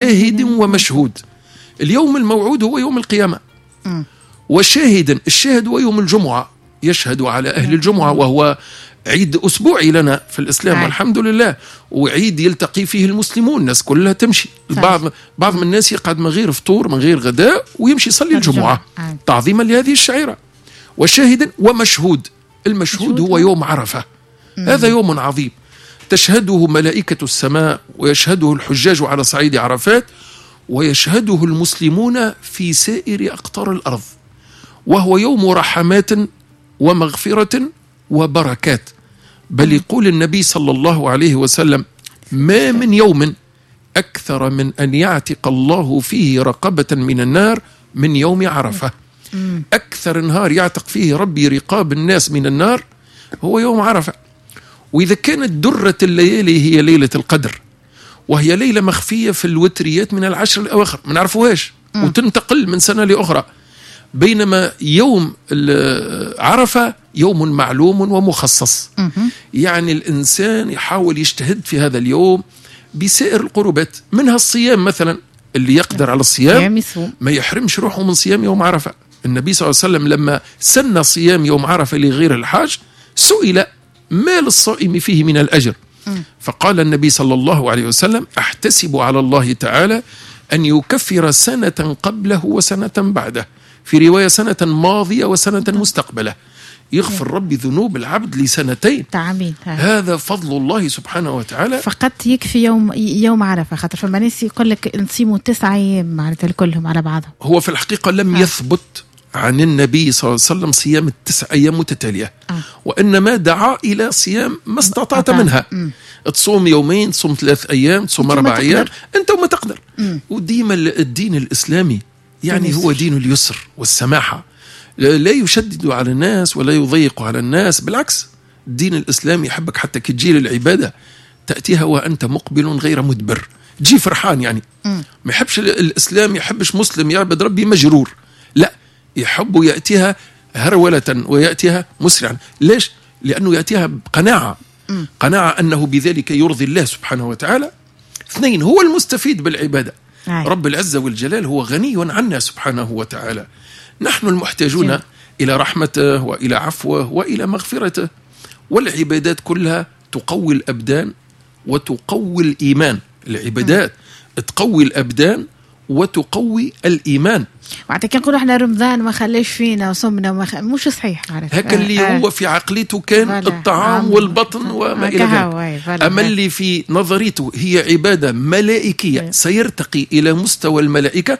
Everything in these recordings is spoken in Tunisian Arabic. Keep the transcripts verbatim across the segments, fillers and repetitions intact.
وشاهد ومشهود. اليوم الموعود هو يوم القيامة، وشاهد، الشاهد هو يوم الجمعة، يشهد على أهل الجمعة، وهو عيد أسبوعي لنا في الإسلام والحمد لله، وعيد يلتقي فيه المسلمون، الناس كلها تمشي. بعض بعض من الناس يقعد من غير فطور من غير غداء ويمشي يصلي الجمعة تعظيما لهذه الشعيرة. وشاهد ومشهود، المشهود هو يوم عرفة. مم. هذا يوم عظيم تشهده ملائكة السماء، ويشهده الحجاج على صعيد عرفات، ويشهده المسلمون في سائر أقطار الأرض، وهو يوم رحمات ومغفرة وبركات. بل يقول النبي صلى الله عليه وسلم: ما من يوم أكثر من أن يعتق الله فيه رقبة من النار من يوم عرفة. أكثر نهار يعتق فيه ربي رقاب الناس من النار هو يوم عرفة. وإذا كانت درة الليالي هي ليلة القدر، وهي ليلة مخفية في الوتريات من العشر الأواخر، ما نعرفوهاش، وتنتقل من سنة لأخرى، بينما يوم عرفة يوم معلوم ومخصص. يعني الإنسان يحاول يجتهد في هذا اليوم بسائر القربات، منها الصيام مثلا، اللي يقدر على الصيام ما يحرمش روحه من صيام يوم عرفة. النبي صلى الله عليه وسلم لما سن صيام يوم عرفة لغير الحاج سئل: ما للصائم فيه من الأجر؟ فقال النبي صلى الله عليه وسلم: أحتسب على الله تعالى أن يكفر سنة قبله وسنة بعده، في رواية سنة ماضية وسنة مستقبلة. يغفر ربي ذنوب العبد لسنتين. تعمين. هذا فضل الله سبحانه وتعالى. فقط يكفي يوم يوم عرفة، خاطر فما ناس يقول لك نصيموا تسعة أيام معناتها كلهم على بعضهم. هو في الحقيقة لم آه. يثبت عن النبي صلى الله عليه وسلم صيام التسع أيام متتالية، آه. وإنما دعا إلى صيام ما استطعت منها. م. تصوم يومين، تصوم ثلاث أيام، تصوم أربع أيام، أنت وما تقدر. وديما الدين الإسلامي يعني هو دين اليسر والسماحة، لا يشدد على الناس ولا يضيق على الناس، بالعكس الدين الإسلامي يحبك حتى كي تجي للعبادة تأتيها وأنت مقبل غير مدبر، تجي فرحان يعني. ما يحبش الإسلام، يحبش مسلم يعبد ربي مجرور، لا، يحب يأتيها هرولة ويأتيها مسرعا. ليش؟ لأنه يأتيها بقناعة، قناعة أنه بذلك يرضي الله سبحانه وتعالى. اثنين، هو المستفيد بالعبادة. رب العزة والجلال هو غني عنا سبحانه وتعالى، نحن المحتاجون جميل. إلى رحمته وإلى عفوه وإلى مغفرته. والعبادات كلها تقوي الأبدان وتقوي الإيمان. العبادات م. تقوي الأبدان وتقوي الإيمان. وعطا كي نقولوا احنا رمضان ما خلاش فينا وصمنا وما خ... مش صحيح. هكا اللي آه. هو في عقليته كان الطعام والبطن وما إلى ذلك. أما اللي في نظريته هي عبادة ملائكية، أيه. سيرتقي إلى مستوى الملائكة،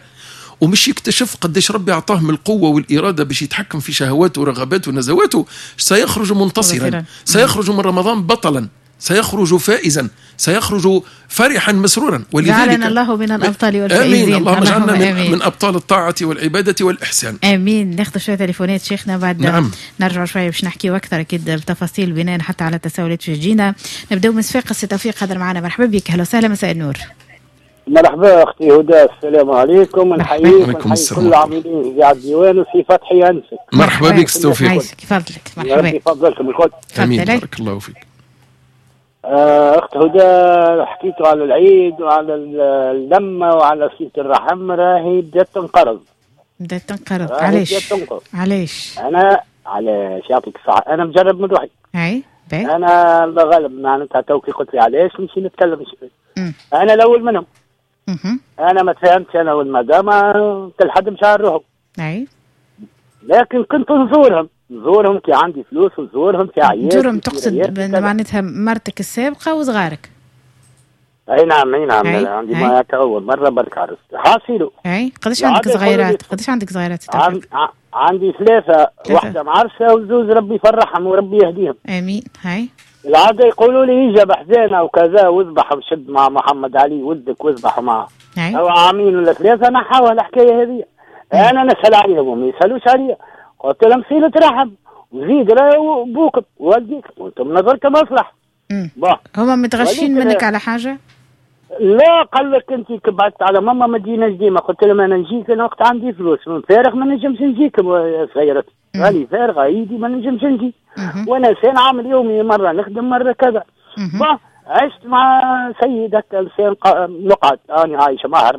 ومش يكتشف قديش ربي أعطاه من القوة والإرادة باش يتحكم في شهواته ورغباته ونزواته. سيخرج منتصرا، سيخرج من رمضان بطلا، سيخرج فائزا، سيخرج فرحا مسرورا. ولذلك جعلنا الله من الأبطال والفائزين. آمين. اللهم اجعلنا من, من أبطال الطاعة والعبادة والإحسان. آمين. ناخذ شوية تليفونات شيخنا بعد. نعم. نرجع شوية باش نحكي أكثر أكيد بتفاصيل بناء حتى على التساؤلات في جينا. نبداو من صفاقس، توفيق حضر معنا، مرحبا بك، أهلا وسهلا، مساء النور. مرحبا أختي هدى، السلام عليكم. نحييك ونحيي كل العاملين في الديوان وفي فتحي أنسك. مرحبا بك توفيق. فضلك. مرحبا. يفضلكم الكل. آمين، بارك الله فيك. أخت هدى، حكيتوا على العيد وعلى اللمة وعلى صلة الرحم، راهي بدات تنقرض. بدات تنقرض. علاش؟ علاش؟ أنا علاش يعطيك الصحة، أنا مجرب من روحي. أي باهي. أنا الله غالب معناتها تو كي قلت لي علاش نمشي نتكلم. أنا الأول منهم. مم. أنا ما تفهمتش أنا والمدام كل حد مشى على روحه. أي. لكن كنت نزورهم. نزورهم كي عندي فلوس، ونزورهم في عيال. نزورهم تقصد معناتها مرتك السابقة وصغارك؟ اي نعم، اي نعم، أي. عندي ما اول مرة برك عرست حاصيلو. اي قداش عندك صغيرات؟ قداش عندك صغيرات؟ عن... عندي ثلاثة، واحدة معرسة وزوز ربي يفرحهم وربي يهديهم. امين. هاي العادة يقولوا لي يجي بحزانة وكذا واذبح وشد مع محمد علي ولدك واذبح معه. او عامين ولا ثلاثة نحاول الحكاية هذه. انا نسأل عليهم وما يسألوش عليا. قلت لهم صلة رحم وزيد راهو بوكم والديك وانتم نظركم مصلحة. هما متغشين منك على حاجة؟ لا، قال لك انت كبعت على ماما ما تجيناش ديما. قلت لهم انا نجيك انا وقت عندي فلوس من فارغ ما نجمش نجيك صغيرة غالي فارغة ايدي ما نجمش نجي، وانا انسان عامل يومي مرة نخدم مرة كذا. عشت مع سيد هكا انسان نقعد انا عايشه معها